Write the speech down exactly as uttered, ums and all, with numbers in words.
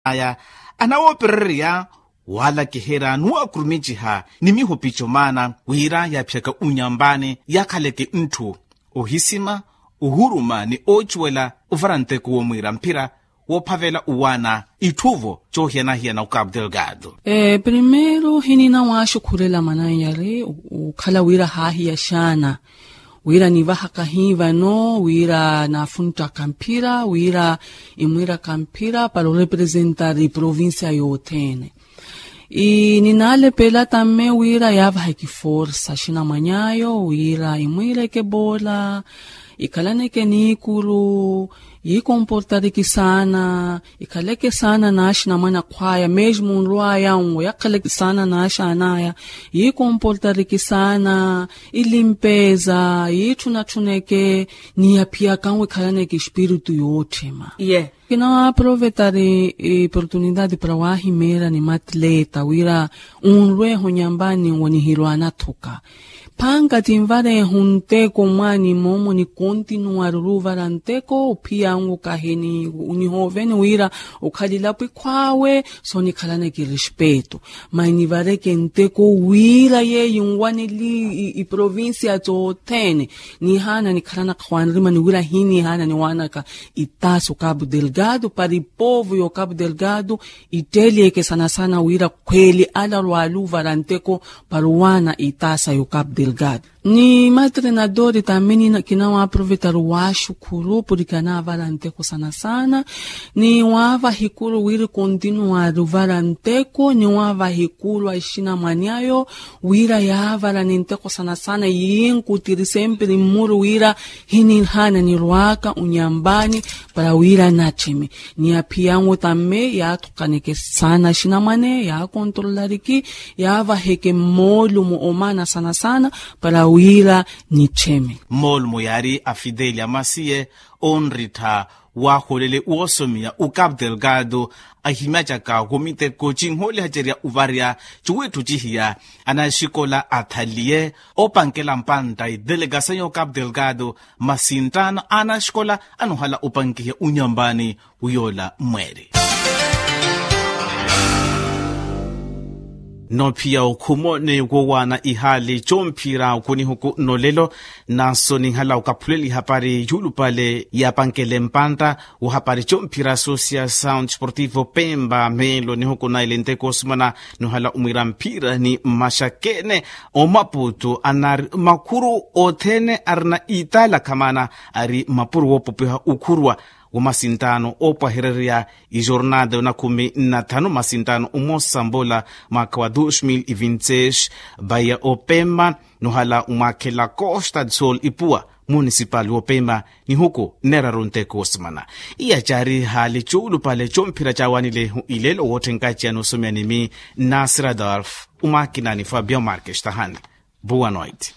aya anawoopererya walakiherya nuwakurumikiha ni mihupico maana wira yaaphiyaka unyampani yakhaleke ntthu ohisima ohuruma ni ocuwela ovara nteko womwiira mphira woophavela owaana itthuvo coohiyana-hiyana okapu delgado. Primeiro hinina waaxukhurela mananyari okhala wira haahiya xaana wira nivahaka hi vano wira naafunttaka mphira wira imwiiraka mphira para orepresentari provincia yothene. Ninalepela tamme wira yaavaheke forsa xinamwany'ayo wira imwiireke bola ikhalaneke niikuru yiikomportariki saana ikhaleke saana n'axinamwane akhw'aya mesmo nrw'aya nwo yakhaleke saana n'axaan'aya yiikomportariki saana ilimpeza yiitthuna-tthuneke ni yaphiyaka nwo ikhalaneke espiritu yootthema. Ye kinawaaprovetari oportunidade para waahimeera ni matleta wira onrweeha onyampani nwo nihirwaana thuka phanka tinvareeha onteko mwaani moomo nikontinuwari oruuvara nteko ophiya nwo kahi nihooveni wira okhalilapo ikhw'awe soonikhalaneke respeto mani nivareke nteko wira yeeyo nwaneli iprovincia tothene nihaana nikhalanaka hwanirima ni wira hinihaana niwaanaka itaasa okapu delgado para ipovo y'okapu delgado itteelyeke sana sana wira khweeli ala rwaaluvara nteko para owaana itaasa y'okapu delgado ni matrenadori tamini kinawaaprovetari waaxukhuru poriki anaavara nteko sana sana ni waavaha ikuru wira kontinuwari ovara nteko ni waavaha ikuru axinamwane ayo wira yaavara ni nteko sana sana yiinkutiri sempre mmuru wira hinihaana nirw'aka onyampani para wira nattheme ni aphiya nwo tamme yaathukaneke saana axinamwane yaakontrolariki yaavaheke mmoolumo omaana sana sana para wira nittheme. Mmoolumo yaari afideli amasiye onrittha waaholele woosomiya okapu delgado ahimyacaka womiteko cinhoolihacerya ovarya cuwiitthu cihiya anaxikola athaliye opankela mpantta idelegasayo okapu delgado masi nttaano anaxikola anohala opankiha unyampani wiyoola mweeri. Noophiya okhumo ni wowaana ihaali comphira okunihuku nolelo nanso ninhala okaphuleli hapari yuulupale yaapankele mpantta wahapari comphira social sound sportivo pemba meelo nihuku naile nteko osimana nohala omwiira mphira ni mmaxakene omaputu anari makhuru othene arina italakhamana ari mapuro woopopiha okhuruwa wa masinttaano oopwahererya ijornada onakhumi nnathanu masinttaano omosa mbola mwaakha wa dos mil e vinti seis. Vaya opema nohala omwaakhela costa do sol ipuwa municipal wopema nihuku nneeraru nteko wosimana. Iya caari haali cuulupale comphira caawanile ileelo wootthenkaciyani osomeya ni mi nasir adolf omwaakina ni fabio marques tahani. Boa noite.